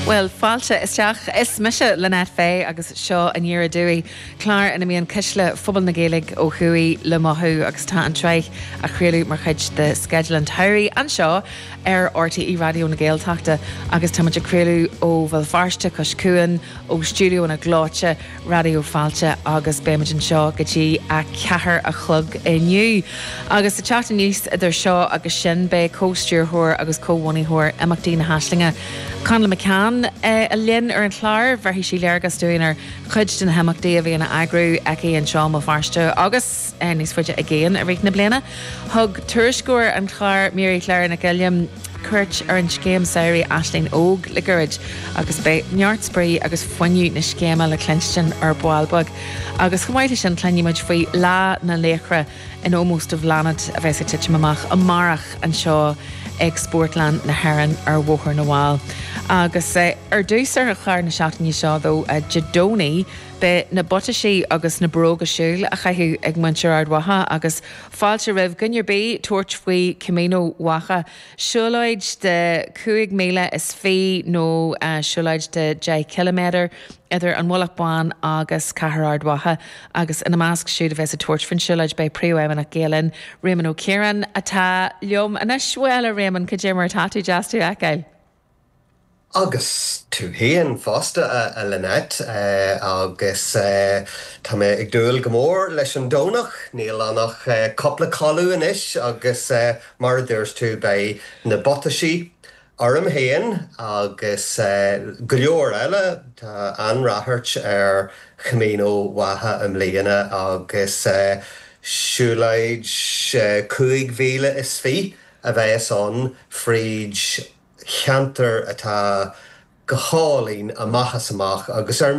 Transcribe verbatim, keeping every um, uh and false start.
Well fáilte isteach is mise Lynette Fay agus seo Aniar Aduaidh clár ina mbíonn cuisle phobal na Gaeilge ó thuaidh le mothú agus tá an tsraith á chraoladh mar chuid de sceideal an tsamhraidh anseo ar RTÉ Raidió na Gaeltachta agus tá ag craoladh ó Bhéal Feirste Cois Cuain ó stiúideonna gleoite Raidió Fáilte agus beimid anseo go dtí a ceathair a chlog inniu. Agus sa teacht aníos idir seo agus sin beidh comhstiúrthóir agus comhbhunaitheoir Imeachtaí na hAislinge. Conall McCann uh, linn ar an chlár bheirfidh sí léargas dúinn ar chuid de na himeachtaí a bhíonn á eagrú aici anseo i mBéal Feirste agus uh, níos faide i gcéin i rith na bliana. Thug tuairisceoir an chláir Mary Claire Nic Uilliam cuairt ar an scéim samhraidh Aisling Óg le gairid agus beidh neart spraoi agus fuinneamh na scéime le cluinstin ar ball beag. Agus chomh maith sin cluinfimid faoi Lá na Laochra in ómós do Bhláthnaid a bheas ag titim amach amárach anseo ag Spórtlann na hÉireann ar Bhóthar na bhFál. Agus eh, ar dtús ar chlár na seachtaine seo dó Dé Domhnaigh, beidh na buataisí agus na bróga siúil á gcaitheamh ag muintir Ard Mhacha agus fáilte roimh dhuine ar bith tabhairt faoi Camino Mhacha. Siúlóid de cúig míle is fiche nó uh, siúlóid de deich km idir an Mullach Bán agus Cathair Ard Mhacha agus ina measc siúd a bheas ag tabhairt faoin siúlóid beidh príomhfheidhmeannach Gael Linn Réamonn Ó Ciaráin atá liom anois bhuel a Réamonn cad é mar atá tú deas tú a fheiceáil. Agus tú féin fosta a, a Lynette uh, agus uh, Tá mé ag dúil go mór leis an Domhnach, níl ann ach uh, cúpla codladh anois agus uh, mar a dúirt tú beidh na buataisí orm féin agus uh, go leor eile tá an-ráchairt ar Chamino Mhacha i mbliana agus uh, siúlóid uh, cúig mhíle is fiche a bheas ann fríd cheantar atá go hálainn amach is amach agus ar